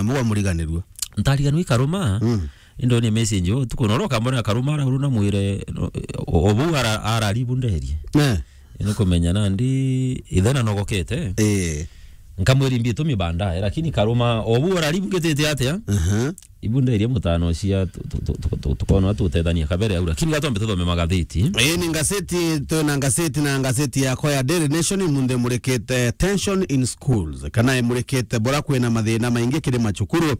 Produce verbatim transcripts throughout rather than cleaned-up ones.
mwa muriganirua. Ntariganirua i Karuma. Mm. Indonie message, utuku na ro kambona Karuma arauru na mwire, no, o, o bau ara-, araribu nderie. Eh. Ni kumenya nandi ithena nogokete. Eh. Nkamwira imbi itumi bandae, lakini Karuma, o bau araribu ngitite atia? Aha. Ibu nderie mutano cia tu-, tu-, tukona tutethania kabere au, lakini gatombe tuthome magatheti. Ii ni ngatheti, twina ngatheti na ngatheti yakwa ya Daily Nation imunthe imurikite tension in schools, kana imurikite bura kwina mathina maingi kiri macukuru.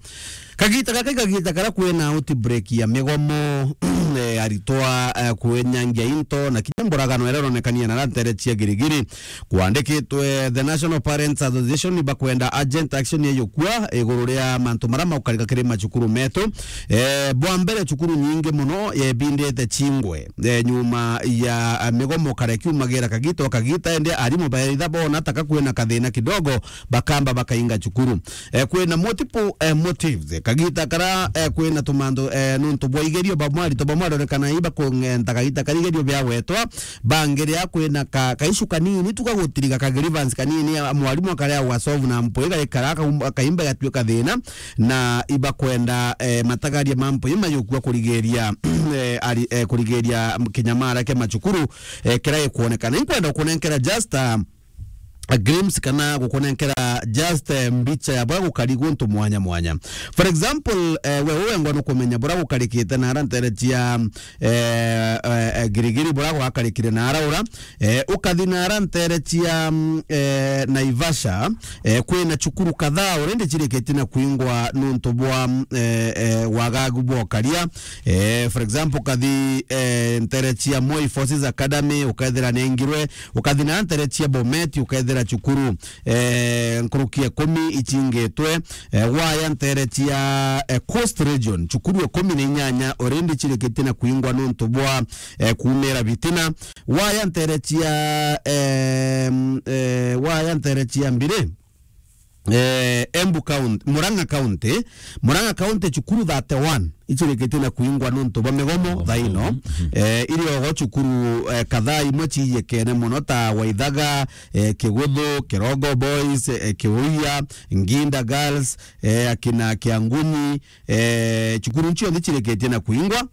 Kagita gaka i kagita karia kwina outbreak ya migomo, eh, aritwa, eh, kwenyangia into, na kinya mburagano iria ironekania na rantere cia Girigiri. Kwandikitwe The National Parents Association, ni bakwenda urgent action yeyukua iguru ria mantu maria maukarika kiri macukuru metu. Eh, bwa mbere, cukuru nyingi muno yebindite chingwe, eh, nyuma ya, eh, migomo kare kiumagira kagita o kagita, ende arimu baitha bona taka kwina kathina kidogo, bakamba bakainga cukuru. Eh, kwina multiple, eh, motives. Kagita kara, eh, kwina tumantu, eh, nuntu bwa igerio bamwe, arito bamwe arorekana iba kung'enta kagita kari igerio biawetwa, bangiria kwina ka, kaicu kanini tu ga gutiriga ka grievance kanini, a, mwarimu akaria gwa solve na mpwi gaikara akaum-, akaimba gatuika thina, na ibakwenda, eh, matagaria ma mpwi mayukua kurigiria, eh, ari, eh, kurigiria kinyamara kia macukuru, eh, kira ikwonekana. Inkwenda kunenkera just, ah, a glimpse kana gukunenkera just, eh, mbicha ya bwa gukari guntu mwanya mwanya. For example, eh, we wengwa nukumenya bura gukarikite na ara ntere cia, eh, eh, eh, Girigiri bura gwakarikire na ara ura, eh, ukathi na ara ntere cia, mm, eh, Naivasha, eh, kwina cukuru kadhaa already cirikite na kuingwa nuntu bwa, mm, eh, eh, wagagu bwa ukaria. Eh, for example, ukathi, eh, ntere cia Moi Forces Academy, ukethira nengirwe, ukathi na ntere cia Bomet, ukethira cukuru, eh, nkuruki ikumi icingitwe, eh, waya ntere cia, eh, Coast Region, cukuru ikumi na inyanya already cirikite na kuingwa nuntu bwa, eh, kuumira bitina. Waya ntere cia, em, eh, waya ntere cia mbiri, eh, Embu County, Murang'a County, Murang'a County cukuru thirty-one icirikitie na kuingwa nuntu bwa migomo thaino. Mhm. Eh, iri ogo cukuru, eh, kadhaa imwe ciiyekene muno ta Waithaga, eh, Kiguthu, Kirogo Boys, eh, Kiuia, Nginda Girls, eh, akina Kianguni, eh, cukuru cionthe cirikitie na kuingwa.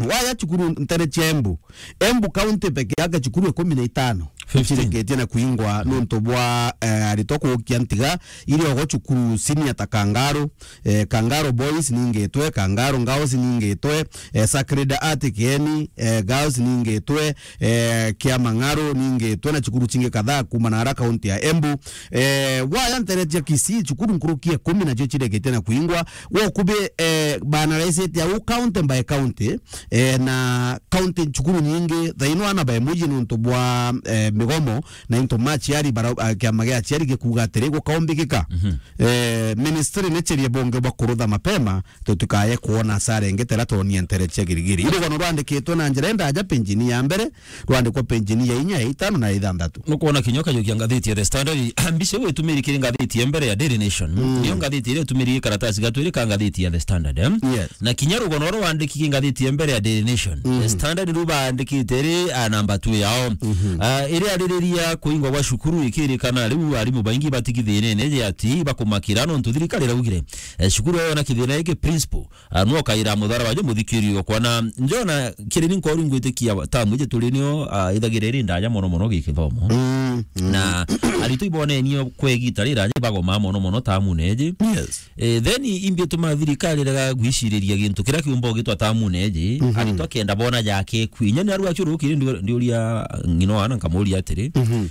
Waya cukuru ntere cia Embu, Embu County peke yake cukuru ikumi na itano fifteen icirikitie na kuingwa nuntu bwa, eh, aritwa kuukia ntiga. Iri ogo cukuru senior ta Kangaru, eh, Kangaru Boys ningitwe, Kangaru Girls ningitwe, eh, Sacred Heart Kieni, eh, Girls ningitwe, eh, kia Mang'aru ningitwe, na cukuru cingi kadhaa kuuma na ara kaunti ya Embu. Eh, waya ntere cia Kisii, cukuru nkuruki ikumi nacio cireketie na kuingwa. Wokubi, eh, banaraisite au county by county, eh, na county cukuru nyingi thaino ana baemuji nuntu bwa, eh, migomo na into maciari bara, ah, kiama gia aciari gikuuga atiri gukaumbikika. Mhm. Eh, ministry ni cirie bunge bwa kurutha mapema, tutikaye kuona asara ingi tera twonie ntere cia Girigiri. Irugano rwandikitwe na njira indaja, penjini ya mbere, rwandikwa penjini ya inya, ya itano na ya ithanthatu. Nukwona kinya ukajukia ngathiti ya The Standard, mbica iu itumiri kiri ngathiti ya mbere ya Daily Nation. Mm. Niyo ngathiti iria itumiri karatasi gatwiri ka ngathiti ya The Standard, eh? Yes. Na kinya rugono ruria rwandiki ki ngathiti ya mbere ya Daily Nation. Mm. The Standard niru baandikite iri, ah, namba two yao. Mhm. Ah, iria aririria kuingwa gwa cukuru ikirikana riu arimu baingi batigithinene ya ati bakumakira nontu thirikari iraugire, eh, cukuru yona kithina giki principal Ah, no kaira muthara waje muthikiri okwa na njona kiri ni nkori ngwitikia tamu ije turi nio, ah, ithagire iri ndaja mono mono gikithomo. Mm, mm. Na aritwa ibonenio kwegita rira je bagoma mono mono tamu neje. Yes. Eh, then imbi tuma thirikari rega gwiciriria gintu kira kiumba gitwa tamu neje. Mhm. Aritwa kenda bona jake kwi. Inya ni aru achuru kiri ndio, ndio ria ngino ana nkamuria atiri. Mhm.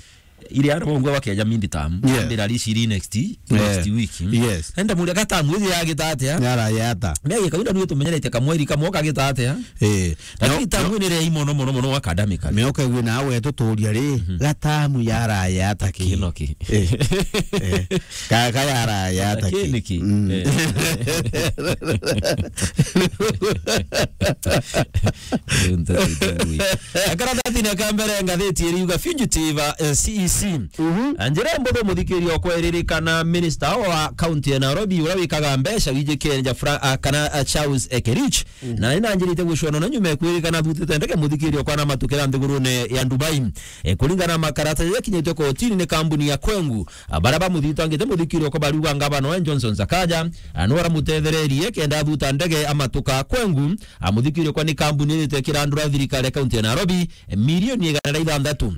Iri ara bongwe bakeja mindi tamu. Yeah. Ambira riciri next, yeah, next week. Yes. Enda muria gatamu iri yagita atia? Yara yata. Megi kaunda nwe tumenyerete kamweri kamwe kagita atia? Eh. Lakini no, tamu no. Ni ria mono mono mono academic. Me okegwe na wetu turia ri, mhm, gatamu yara yata ki? Kino ki? Eh. Eh. Ka, ka yara yata ki? Kini ki? Mm. Eh. Riu nteto itungui. Akarathati na kambere ngathiti iriuga fugitive, eh, C E C Si. Mhm. Njira mbuthu, muthikiriria okwa, iririkana minister wa county ya Nairobi, uria wikaga mbeca, wiji Kenya, Fra-, ah, kana, ah, Charles Ekerich. Mhm. Na ni nanjirite gucwana na nyuma ya kwirikana athutite ndege, muthikiriria okwa, na matukira nthigurune ya Dubai. E, kuringana na makarata jaria akinyitwe kotini ni kambuni ya Kwengu, ah, baria bamuthitangite, muthikiriria okwa, bariuga ngavana wa Johnson Sakaja, ah, niwe aramutethererie kenda athuta ndege amatuka Kwengu, ah, muthikiriria okwa, ni kambuni irite kirandura thirikari ya county ya Nairobi, e, milioni igana ria ithanthatu.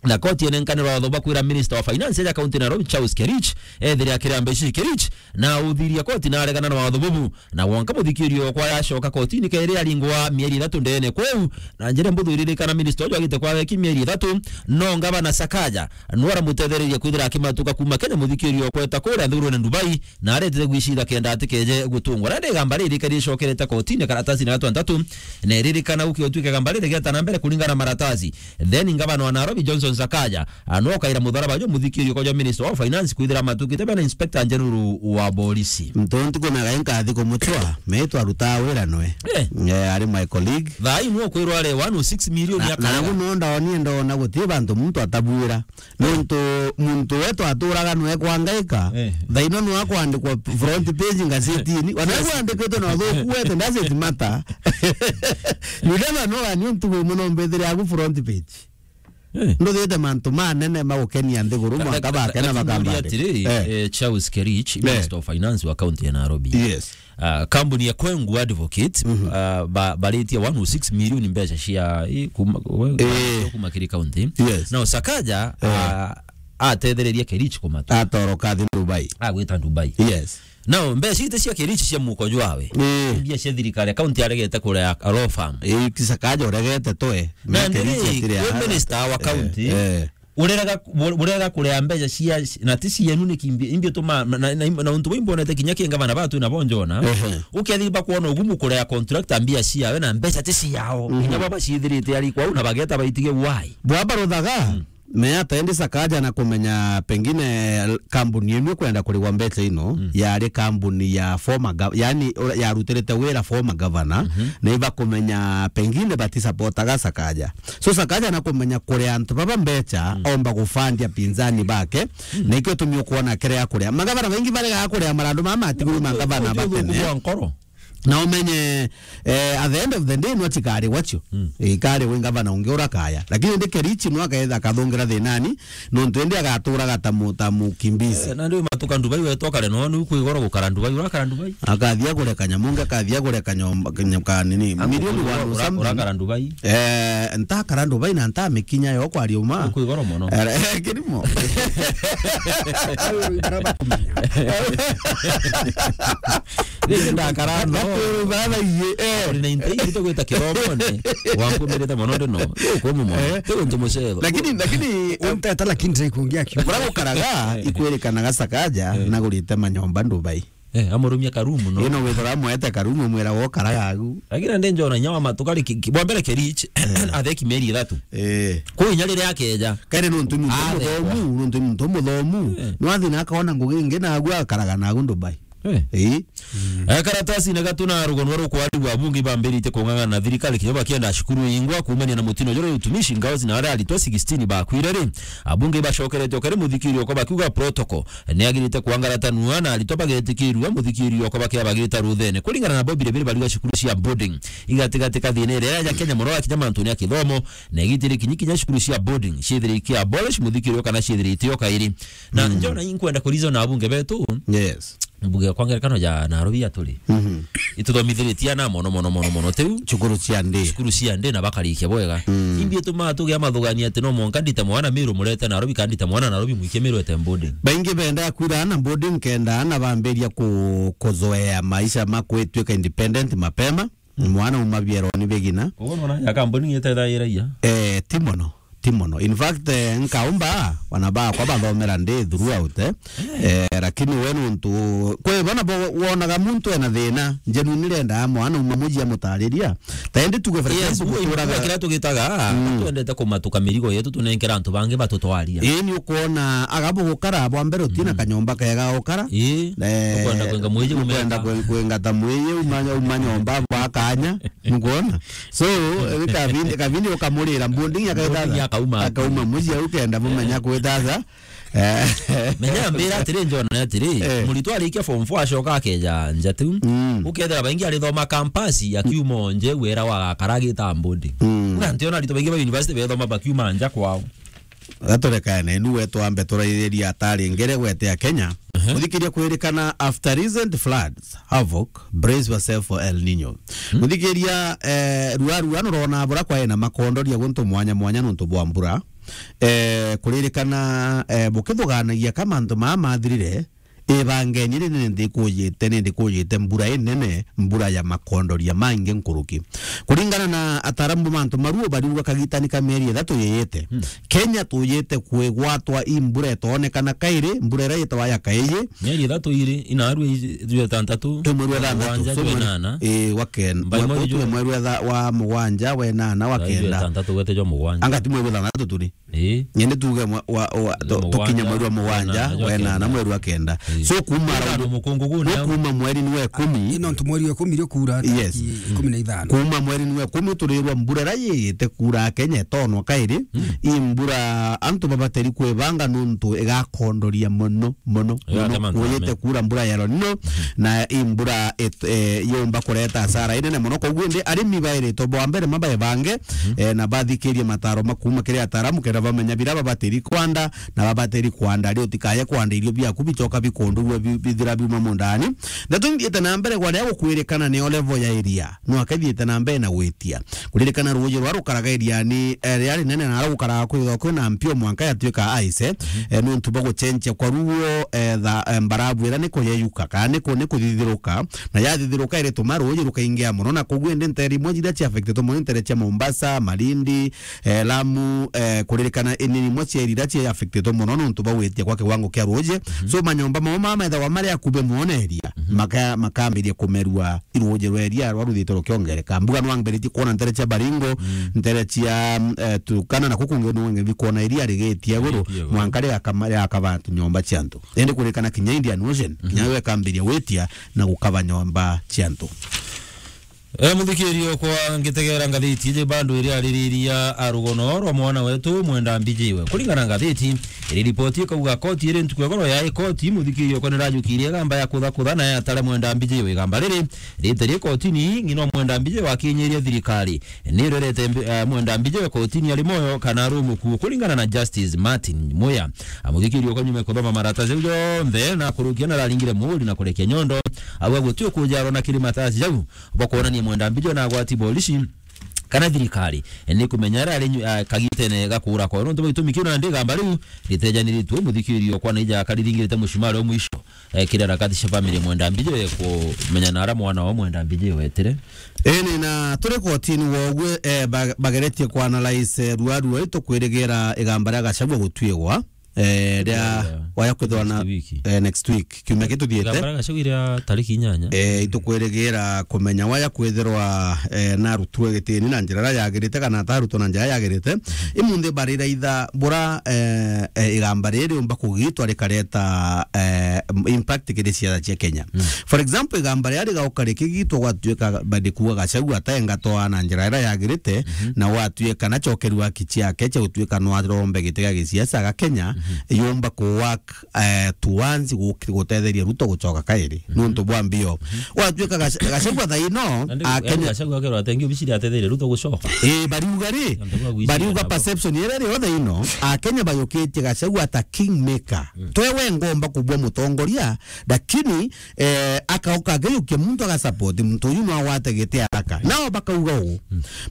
Na koti enenkanirwa watho bwa kwira minister wa finance ya county Nairobi, Charles Kerich, ethire akiria mbeca ici. Kerich na uthiria koti na aregana na watho bubu, na wonka muthikiriria okwa yacoka kotini kairi aringwa mieri ithatu ndene kwou. Na njira mbuthu, iririkana minister uju agite kwa weki mieri ithatu, no ngavana Sakaja niwe aramutethereria kwithira akimatuka kuma Kenya, muthikiriria okwa, eta kuria nthigurune Dubai, na aretete gwicira kenda atikeje gutungwa. Na ndigamba riri kari icokerete kotini karatasi na gatwantatu, na iririkana gukiotwika igamba riri gieta na mbere kuringana na maratathi. Then ngavana wa Nairobi, Johnson Sakaja, anokaira mutharaba jo muthikiriria okwa jwa minister wa finance kwithira matukite bena inspector general wa borisi. Ntontu kunaga inkathi kumuchwa, me twarutaa wira nwe. Eh. Eh, ari my colleague. Thaa ii nwe kwirwa ari one oh six million. Na, ya na karaga. Nagu no ndaonie ndona guti bantu muntu atabwira. Nontu muntu wetu aturaga nwe kwangaika. Eh. Thaino nwe akwandikwa front page ngazetini. Wana kwandikitwe na uthuku wete, doesn't matter. You never know, ani untu we muno mbethire agu front page. Eh. Nduthite mantu manene magukenia nthiguru, mwanka bakena bakamba atiri, eh, Charles Kerich, eh, Minister of Finance wa county ya Nairobi. Yes. Ah, kambuni ya Kwengu Advocate, mhm, ah, ba-, baritie one oh six million mbeca cia, i, kuma, we-, eh, kuma kiri county. Yes. Nao Sakaja, eh, ah, atethereria Kerich kumatu. Atoroka athi Dubai. Agwita Dubai. Yes. Nao mbeca ite cia Kerich cia muko jwawe. Eh. Mbia cia thirikari, county aregete kurea law firm. Eh, Sakaja uregete toe. Na Kerich ndiri, atire we aha. Minister wa county. Eh, eh. Urega, urega kurea mbeca cia, na ti cienu ni kimbi, imbi tuma, na, na, na, na untu bwimbi onete kinya ki ngavana batu na bonjona. Ehe. Ukethi bakwona ugumu kurea contractor mbia ciawe na mbeca ti ciao. Mhm. Kinya baba ciithirite ari kwau na bageta baitige why. Bwaba ruthaga, mm, me ataendi Sakaja na kumenya pengine kambuni ino kwenda kurigwa mbeca ino, mm, yari kambuni ya former gov-, yani ura-, yarutirite wira former governor, mhm, na iba kumenya pengine bati supportaga Sakaja. So Sakaja na kumenya kuria antu baba mbeca, mm, omba gufandia pinzani bake, mm, na ikio tumio kuona kiria kuria. Magavana baingi baregaga kuria marandu mama atiguru ma ngavana batene. Kwa nkoro. Na umenye, eh, at the end of the day, no chikari wacho. Mm. Ikari wi ngavana ungi urakaya. Lakini ndi Kerichi no akaetha akathungira thinani, nontu indi agaturaga ta mu-, ta mukimbizi. Eh, na ndi matuka Dubai wetu akare no, ni kwigoro gukara Dubai, urakara Dubai. Akathia kure kanyamu nge, akathia kure kanyomba, kanya-, ka nini, milioni ura-, one or ura-, something. Urakara Dubai. Eh, ntakara Dubai na ntamikinya yo kwaria uma. Kwigoro mono. Eh, kirimo. Ayo, baraba kumenya. Rĩu ndakara no. Gatwĩrũ baba iye, eh. Uri na inte itũ gwĩta kĩromone. Wankumirite mono ndino. Rĩu kũmũ mono. Eh. Rĩu ntumucetho. Lakini, lakini, unteta lakini ndikuongea kiu. Kura gukaraga, eh, ikwirikanaga Sakaja, eh, na gurite manyomba Dubai. Eh, amurumia karumu no. Ino withira mwete karumu mwira wo karaga agu. Lakini ndi njona inya wa matu kari ki-, ki-, bwa mbere Kerich, eh, atheki meri ithatu. Eh. Kwi inya riria akeja. Kari nontu muntu muthomu, nontu muntu muthomu. Eh. No athi na akona ngugi ingi na agu akaraga na agu Dubai. Eh. Eh. Eh, karatasi na gatu na rugonwa rukwarigwa abunge bambirite kung'ang'ana na thirikari kinya bakienda cukuru ingwa kuumania na mutino jore utumishi ngaozi na aria aritwa sixteen bakwire ri. Abunge bacokerete okari muthikiri okwa bakiuga protocol ni agirite kwangaratanua na aritwa bagetikirua muthikiri okwa bakia bagirita ruthene. Kuringana na Bobi Rebire bariuga cukuru cia boarding igatigati kathina iria ya Kenya muno akinya mantu ni akithomo na igitiri kinyi kinya cukuru cia boarding ciithiri ikia abolish muthikiri okwa na ciithiri itio kairi. Na, mm, njona inkwenda kurizona abunge betu. Yes. Mbuge kwa ngerekano ya Nairobi ya turi. Mhm. Ituthomithiritie ana mono, mono, mono, mono. Tiu cukuru cia ndi. Cukuru cia ndi na bakarikia bwega. Mm. Imbi ituma tugia mathugania ati no mwanka ndite mwana Meru murete Nairobi, kana ndite mwana Nairobi mwikie Meru ete boarding. Baingi benda kwira ana boarding kenda ana bambiria ku-, kuzoea maisha ma kwitwika independent mapema. Mm. Mwana uma bieroni bigina. Koguo nona ya kambuni ni itethairagia? Eh, ti mono, ti mono. In fact, eh, nkaumba, wana bakwa bathomera ndi throughout, eh. Eh, lakini we nuntu, kwi bona bo-, wonaga muntu ena thina, njenu nirenda mwana uma muji amutariria. Tendi tuge for example, yes, guturaga kira tugitaga, mm, twendete kumatuka mirigo yetu tunenkera antu bangi batutwaria. Ii, ni ukuona agabo gukara bwa mbere utina, mm, kanyomba kega gukara. Ii. Eh, ukwenda kwenga mwiji ukwenda umeta. Kwe-, kwengata mwiji umanya, umanya omba bwa akanya, mukwona? So, eh, kabindi, kabindi ukamurira, Mbundingi akaithatha. Mbundingi akauma. Akauma mucii au kenda bumenya kwithatha. Eh. Menya mbira atiri, John, ni atiri, eh, muritwa arikia form four acoka akeja nja tu. Mm. Ukethira baingi arithoma campus, akiuma nje, wira wa gakara agita Mbundingi. Mm. Kuna ntiona aritwa baingi ba university bethoma bakiuma nja kwao. Gaturekane, nu we twambe turaithiria atari ngere gwete ya Kenya. Ehe. Uthikiria kwirikana after recent floods, havoc, brace yourself for El Nino. Hmm. Uthikiria, eh, rua rua nurona bura kwae na makondoria guntu mwanya mwanya nuntu bwa mbura. Eh, kuririkana, eh, bukithuganagia ka mantu maa mathirire, ibangeni ri nindi kujite, nindi kujite mbura inene, mbura ya makondoria maingi nkuruki. Kuringana na ataaramu ba mantu maruo, bariuga kagitani ka mieri ithatu yiyite, hmm, Kenya tuyite kwigwatwa i mbura itoonekana kairi, mbura iria yitawa ya kaiji. Mieri ithatu iri, inaarua iji, jwa itantatu, imwe rwa ithanthatu, mugwanja, so jwa mwe-, inana, eh, wa ken-, mbai mwe-, mwe-, jwa tuge mwe rwa itha-, wa mugwanja, wa inana, wa kenda. Jwa itantatu gwete jwa mugwanja. Anga ti mwe rwa ithanthatu turi? Ii. Nyende tuge mwa-, wa, wa, to-, tukinya mweri wa mugwanja, wa inana, mweri wa kenda. Ii. So, kuma rau-, mukungugu no ni kuma mweri ni wa ikumi. Ino ntu mweri wa ikumi rio kuura, yes, tariki ikumi na ithano. Kuma mweri ni wa ikumi turirwa mbura iria yiyite kuura Kenya itonwa kairi. Mm. I mbura antu babateri kwibanga nuntu igakondoria mono, mono, mono. Kuyite kuura mbura ya El Nino, na i mbura it-, eh, yumba kureta hasara inene mono. Koguo indi arimi bairitwe bwa mbere mabaebange, eh, na bathikirie mataro ma kuuma kiri ataaramu, kenda bamenya bira babatiri kwanda, na babatiri kwanda ri, utikaye kwanda irio biaku bicoka bikondurua bi-, bithira biuma mundani. Ndeto ithiite na mbere gwa ria gukwirikana nio level ya iria, no akathiite na mbere na gwitia. Kuririkana ruuji rwa rukaraga iriani, eh, ria rinene na rukaraga kwithwa kwina mpio mwanka yatuika ice, eh, nuntu bwa gucenjia kwa ruo, eh, tha-, eh, mbarabu ira ni kuyeyuka, kana ni ku-, ni kuthithiruka, na yathithiruka irituma ruuji rukaingia mono, na koguo indi ntere imwe jiria cia affected mono, ntere cia Mombasa, Malindi, eh, Lamu, eh, kuririkana ini imwe cia iria cia affected mono nuntu bwa gwitia kwa kiwango kia ruuji. Mhm. So, manyomba mao maa methagwa mari akubi mono na iria, mhm, maka-, makambiria kumerua i ruuji rwa iria rwa ruthite rukiongereka. Mbuga nwambiritie kwona ntere cia Baringo, mm, ntere cia, mm, eh, Turkana, na kuku ngi nungi kwona iria rigitia iguru, rigitia iguru, mwanka rigakama-, rigakaba nyomba cia antu. Indi kuririkana kinya Indian Ocean, mhm, kinya yo ikambiria gwitia na gukaba nyomba cia antu. E, muthikiririo kwa ngitegera ngathiti iji bado iri aririria a rugono rwa mwana wetu Mwenda Mbijiwe. Kuringana na ngathiti, iri ripoti ikauga koti iri ntuku ya goro ya koti, muthikiririo kwa nirajukirie igamba ya kutha kutha na yatare Mwenda Mbijiwe. Igamba riri riterie kotini, ng'ina Mwenda Mbijiwe wakinyirie thirikari. Ni rerete mbi-, eh, Mwenda Mbijiwe kotini ari moyo kana ari umukuo, kuringana na Justice Martin Muya. A, muthikiririo kwa nyuma kuthoma marataci jau jonthe na kurukia na raringire muuri na kurekia nyondo. Au gutio kujarwa na kiri matasi jau. Bwa kwonania Mwenda Mbijo na agwati borici kana thirikari ni kumenya aria ari nyu-, a, kagitene ga kuura kwawe. Nontu bwa gitumi kiu, nandi igamba riu ritejaniritue, muthikiririo kwa naija akariringirite mucumari o mwisho, e, kiri harakati cia family Mwenda Mbijo, e, kumenya na aria mwana wa Mwenda Mbijo wetire. Eni, na turi kotini wogwe, e, ba-, bageretie ku analyse, e, rua rua ritukwirigira igamba ria Gachagua gutuigwa. Eh, ria waya kwithirwa na, next week, eh, next week, kiumia gituthiite. Gambara Gachagua iria tariki inyanya. Eh, itukwirigira kumenya waya kwithirwa, eh, narutwe gitini na njira iria yagirite kana atarutwe na njira iria yagirite. Imunthi bariraitha bura, eh, eh, igamba riri riumba kugitwa rikareta, eh, impact kiri ciatha cia Kenya. Mm. For example, igamba riria rigauka rikigitwa gwatuika badi kuuga Gachagua ataengatwa na njira iria yagirite, na gwatuika na cokerua haki ciake cia gutuika no arombe giti gia gisiasa ga Kenya, yumba ku work, eh, towards gu-, gutetheria Ruto gucoka kairi. Nuntu bwa mbio. Gwatuika Gac-, Gachagua thaino, nandi, a Kenya Gachagua akerwa atengi obiciri atetheria Ruto gucoka. Eh, bariuga ri, bariuga perception iria iri yothe ino, a Kenya bayukitie Gachagua ta kingmaker. Twewe ngomba kubua mutongoria, lakini, eh, akauka ageyukia muntu agasupport muntu uyu no agwate giti haraka. Nao bakauga uu.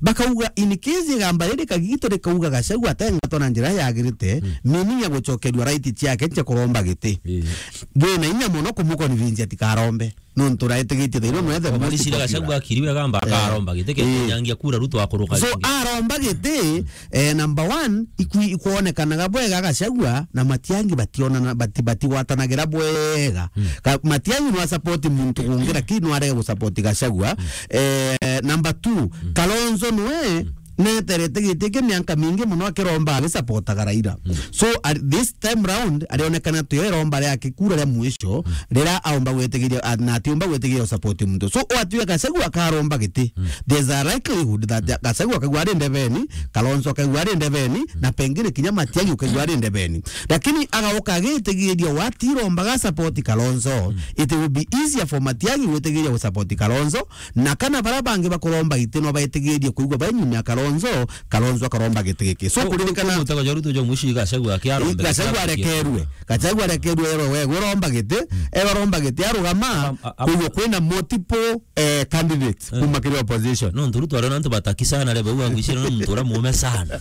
Bakauga, in case igamba riri kagito rikauga Gachagua atengatwa na njira yagirite, meaning ya gucokerua right ciake cia kuromba giti. Bwina inya mono kumuconvince atikarombe. Nontu raitigitie thaino no ethe Gachagua akiriwe gamba akaromba giti, kenyangia kura Ruto akuruka. So, aromba giti, eh, number one, ikwi-, ikwonekanaga bwega Gachagua na Matiang'i bationana, bati-, batigwatanagira bwega. Ka-, Matiang'i no asupport muntu ungi, lakini no arege gusupport Gachagua. Eh, number two, Kalonzo nwe neterete giti ki mianka mingi mono akiromba agisapotaga Raila. So, at this time round, arionekana tuyo iromba ria kikura ria mwisho, rira aomba gwitigiria, a-, na atiumba gwitigiria usapoti muntu. So, o atiwe Gachagua akaromba giti, there's a likelihood that Gachagua akaigua ari ndebeni, Kalonzo akaigua ari ndebeni, na pengine kinya Matiang'i ukaigua ari ndebeni. Lakini agauka agitigiria watirombaga support Kalonzo, it will be easier for Matiang'i gwitigiria gusapoti Kalonzo, na kana bara bangi bakuromba iti no baitigirie kuigua bai nyuma ya Kalonzo, Kalonzo akaromba giti giki. So, kuririkana mutego jwa Ruto jwa mwishi Gachagua akiaromba Gachagua arekerue. Gachagua arekerue, erwe we, uromba giti, erwe aromba giti, arugama, kuigua kwina multiple, eh, candidates kuma kiri opposition. No, ntu Ruto ariona antu bataki sana, rebe, uga ngwicira no muntu uria muume sana.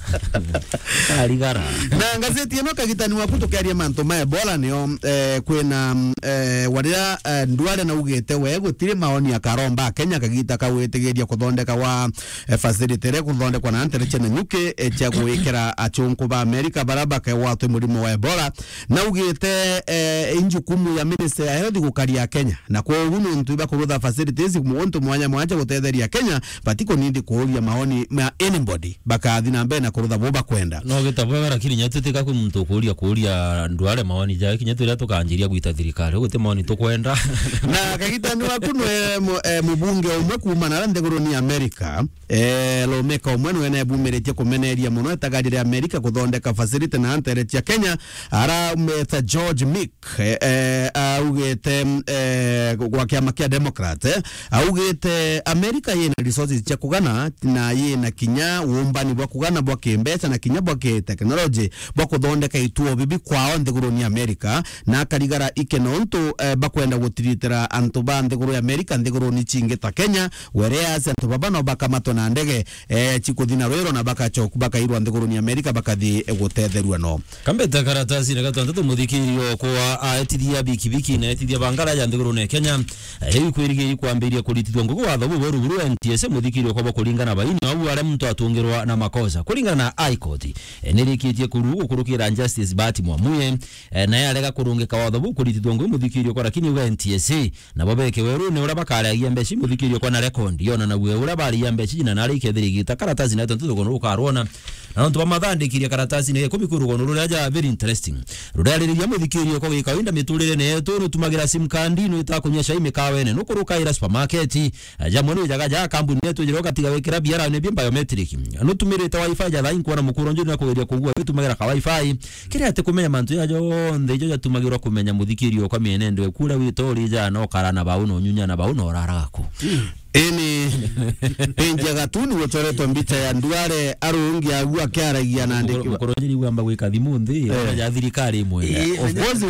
Arigara. Na ngazeti ino kagitani waku tukiaria mantu ma Ebola nio, eh, kwina, eh, warira, eh, Duale naugite we gutiri maoni akaromba Kenya kagita kagwitigiria kuthondeka wa, eh, facility iria kuthondekwa na ntere cia Nanyuki, eh, cia gwikira achunku ba Amerika bara bakegwatwa murimo wa Ebola. Naugite, eh, i njukumu ya Ministry ya Health gukaria Kenya, na kwogu nontu ibakurutha facilities muntu mwanya mwanya gutetheria Kenya, batikunindi kuuria maoni ma anybody, bakathi na mbere na kurutha bo bakwenda. No gita bwega, lakini nya tutika kwi muntu ukuuria kuuria Duale maoni jae, kinya turia tukanjiria gwita thirikari, guti maoni tukwenda. Na kagitani waku nwe mu-, eh, mubunge umwe kuuma na nthiguruni ya Amerika, eh, lawmaker umwe nwe nebumiritie kumeneria mono itagari ria Amerika kuthondeka facility na ntere cia Kenya, ara Mister George Meek, eh, eh, augite, eh, gwa kiama kia Democrat, eh, augite Amerika yina resources cia kugana na yina kinya uumbani bwa kugana bwa kimbeca na kinya bwa kiteknoloji bwa kuthondeka ituo bibi kwao nthiguruni ya Amerika, na akarigara ike nontu, eh, bakwenda gutiritira antu ba nthiguru ya Amerika nthiguruni cingi ta Kenya, whereas antu baba no bakamatwe na ndege, eh, cikuthi na rwiro na bakacoku-, bakairwa nthiguruni ya Amerika bakathi gutetherua no. Kambete karatasi na gatantatu, muthikiri okwa aetithia bikibiki na aetithia bangara ya nthigurune Kenya, eh, riu ikwirigiri kwambiria kuritithwa ngugi watho bubweru buru N T S A, muthikiri okwa bo kuringana baini au aria muntu atungirwa na makosa. Kuringana na High Court, eh, nirikitie kuru gukurukira Justice Bahati Mwamuye, eh, naye arega kurungika watho buu kuritithwa ngugi muthikiri okwa, lakini uga N T S A nabo beke werune uria bakariagia mbeca ici, muthikiri okwa, na rekondi yonanague uria bariagia mbeca ici, na nari ikethira igita karatasi na tontu rugono rukarwona. Na nontu bamathandikirie karatasi ni ikumi kwi rugono ruria ja very interesting. Rurariria muthikiri okwa, gikawaida miturire ni yetu, nutumagira sim card, nwita kunyua cai mikawene, nukurukaira supermarket, jamwe ni jaga ja kambuni yetu jira ugatiga wikira biara ni bi biometric. Nutumirite wifi ja thaa inkwona mukuro njuri na kugeria kugua witumagira ka wifi. Kiri ati kumenya mantu ja jonthe ijo jatumagirwa kumenya muthikiri okwa mienendo eku uria wita uri jana ukara na bau na unyunya na bau na uraraga ku. Ini page ya gatuni guchoretwe mbicha ya Duale arungi agu akiaragia na andiki. Mukuru njiri gwamba gwika thimu nthi, eh, ya thirikari imwe. Eh, of course.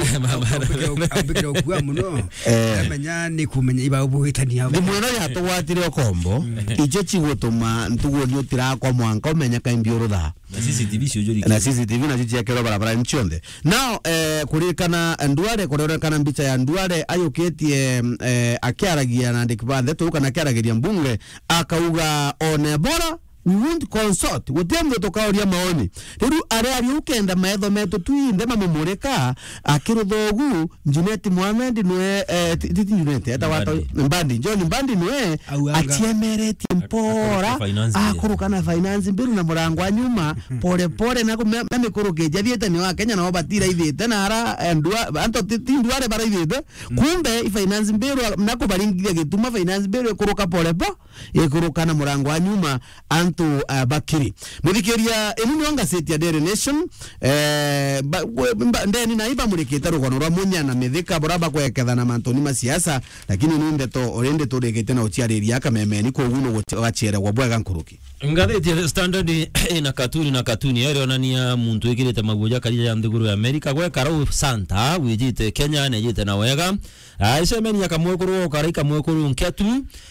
Ambikire gukua muno. Eh. Amenya ni kumenya iba ubugitania. Thimu ino yatugwatire ukombo, icho chigutuma ntugu ni utirakwa mwanka umenya kaimbi urutha. Na C C T V ciujuriki. Na C C T V nacio ciekirwe barabara-ini cionthe. Now, eh, kuririkana Duale, kuririkana mbicha ya Duale ayukitie, eh, akiaragia na andiki ba ndeto kana akiaragiria mbunge, akauga, "On Ebola, we won't consult. Guti muntu tukauria maoni." Riu aria ari ukenda maitho metu twinthe mamumurika, akirutha ugu, Junet Mohamed nwe, eh, ti, ti, ti Junet, eta wata Mbadi. Mbadi, John Mbadi nwe, auga anga aciemeretie mpora, akuruka finance bill, akuruka na finance bill na murango wa nyuma, pole pole, na kume-, na mikuruki jathiete ni wa Kenya nao batiraithite na ara, eh, ndua, anto ti, ti Duale baraithite. Kumbe i finance bill wa-, na kubaringithia gituma finance bill ikuruka pole po, ikuruka na murango wa nyuma, antu, eh, bakiri. Muthikiria, inu nio ngaceti ya Daily Nation, eh, ba-, we-, mba-, ndeni na ibamurikite rugono rwa Munya na Mithika, bura bakwekethana mantuni ma siasa, lakini ni ndeto, uri ndeto urikite na uciariria kamemeni, koguo no guci-, gacieregwa bwega nkuruki. Ngatheti ya The Standard ina katuni na katuni, irionania muntu wikirite maguo ja karia ja nthiguru ya Amerika, gwekara u Santa, wijite Kenya, nejite na wega. Ah, icemeni ya kamwekuru, ukara ikamwekuru nketu.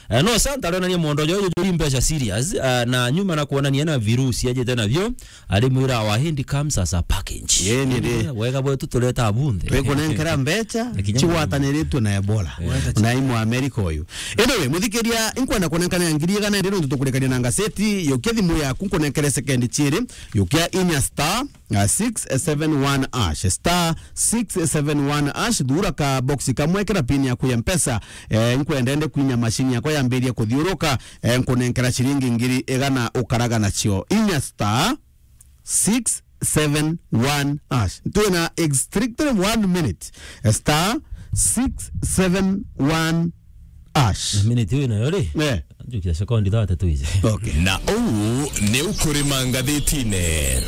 Eh, no Santa arionania mondo jo juri mbeca serious, ah, na nyuma na kuonania na virusi ajite navyo, ari mwira wa Hindi comes as a package. Ye ni ri. Eh, wega bwetu tureta bunthe. Twikunenkera mbeca, na kinya cigwataniritwe na Ebola. Eh. Na imu Amerika uyu. Anyway, muthikiria, inkwenda kunenkana ngiri Gana ndi nontu tukurekania na ngaseti, yukia thimu yaku nkunenkere sekendi ciiri, yukia inya star, uh, six seven one hash, star six seven one hash, thura ka box kamwe, ikira pin yaku ya Mpesa, eh, nkwenda ende kwinya mashini yakwa yambirie kuthiuruka, eh, nkunenkera ciringi ngiri igana ukaraga nacio. Inya star six seven one hash. Twina exactly one minute. Star six seven one hash. Minute wina yo ri? Eh. Njukia sekondi thate tuize. Okay. Na uu ni ukurima ngathitine.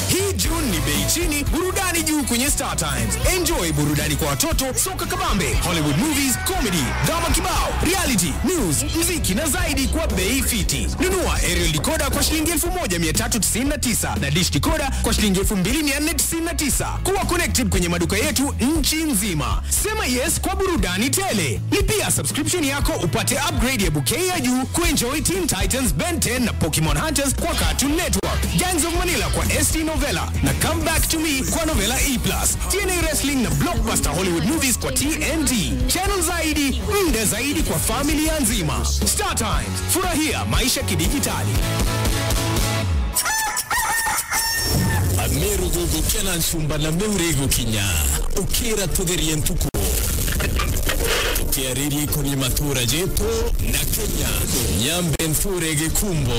Hii June ni bei chini, burudani juu kwenye Star Times. Enjoy burudani kwa watoto, soka kabambe, Hollywood movies, comedy, drama kibao, reality, news, mziki na zaidi kwa bei fiti. Nunua aerial decoder kwa shilingi elfu moja mia tatu tisini na tisa na dish decoder kwa shilingi elfu mbili mia nne tisini na tisa. Kuwa connected kwenye maduka yetu nchi nzima. Sema yes kwa burudani tele. Lipia subscription yako upate upgrade ya bouquet ya juu kuenjoy Teen Titans, Ben ten na Pokemon Hunters kwa Cartoon Network, Gangs of Manila kwa S T Novella na Come Back to Me kwa Novella E plus, T N A Wrestling na blockbuster Hollywood movies kwa T N T. Channel zaidi, muda zaidi kwa familia nzima. Star Times, furahia maisha kidijitali. Amiru gugukia na nchumba na miuri igukinya. Ukira tutherie ntuku. Tukiariria ikonie matura jetu na Kenya. Nyambe nture gikumbo.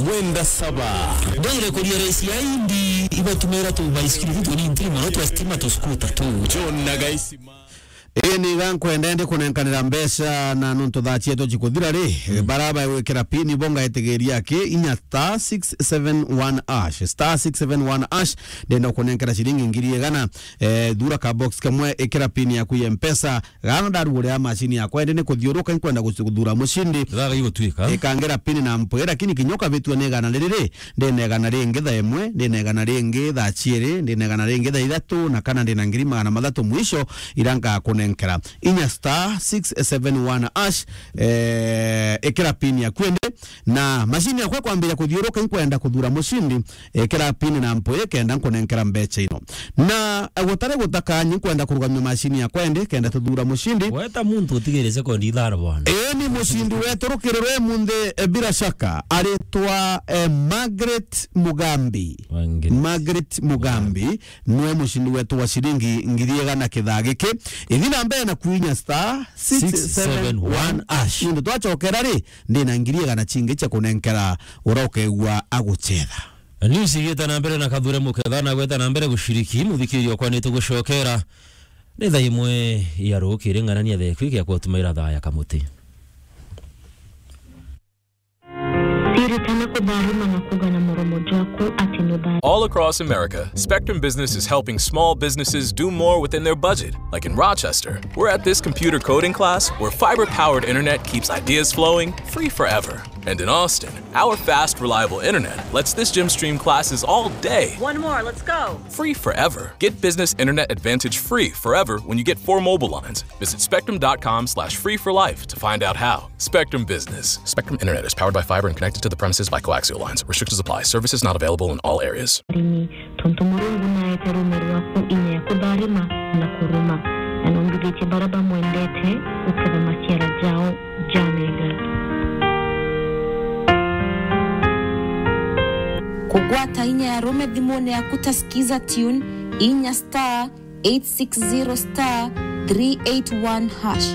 Mwenda saba. Ndire kuria raisi ya indi ibatumira tu baisikiri tu ni ntiri mono twa stima tu skuta tu. John na Gaisima. Ii ni iga nkwenda ndi kunenkanira mbeca na nontu thaa cietu cikuthira ri, mm, bara bagwikira pin bo ngaitigiria aki inya star six seven one hash, star six seven one hash, ndenda kunenkera ciringi ngiri igana, eh, thura ka box kamwe, ikira pin yaku ya Mpesa, gana ndarugurira mashini yakwa, indi ni kuthiuruka, nkwenda guci-, guthura mucindi. Gaga igutwika. Ikangira pin na mpwi, lakini kinya ukabitua ni igana riri ri, ndina igana ringi thaa imwe, ndina igana ringi thaa ciiri, ndina igana ringi thaa ithatu, na kana ndina ngiri magana mathatu mwisho, ira ngakunenkera. Inya star six seven one hash, eh, ikira pin yaku indi, na mashini yakwa kwambiria kuthiuruka, inkwenda kuthura mucindi, ikira pin na mpwi kenda nkunenkera mbeca ino. Na gutari gutaka, nkwenda kurugamia mashini yakwa indi, kenda tuthura mucindi. Weta muntu utigire sekondi ithano bwana. Ii ni mucindi wetu rukirire munthi, eh, bila shaka, aritwa, eh, Margaret Mugambi. Margaret. Margaret Mugambi niwe mucindi wetu wa ciringi ngiri igana kithaa giki. Ithi na mbere na kwinya star six seven one hash. Nontu twacokera ri, ndina ngiri igana cingi cia kunenkera uria ukeegua agucetha. News igite na mbere na Kathure Muketha na gweta na mbere guciriki, muthikiria okwa ni tugucokera ni thaa imwe ya rukiri, ng'anania thaa ikwi gia kutumaira thaa ya kamuti. Siri tana kudharima na kuga na muromo jwaku ati ni bari. All across America, Spectrum Business is helping small businesses do more within their budget. Like in Rochester, we're at this computer coding class where fiber-powered internet keeps ideas flowing free forever. And in Austin, our fast, reliable internet lets this gym stream classes all day. One more, let's go. Free forever. Get business internet advantage free forever when you get four mobile lines. Visit spectrum dot com slash free for life to find out how. Spectrum Business. Spectrum Internet is powered by fiber and connected to the premises by coaxial lines. Restrictions apply. Services not available in all areas. Arimi, tontu Murungu naete ruume rwaku inya ya kutharima na kuruma, na numbithitie baria bamwendete guketha maciara jao ja mega. Kugwata inya ya ruume thimune yaku ta Skiza Tune, inya star eight six zero star three eight one hash.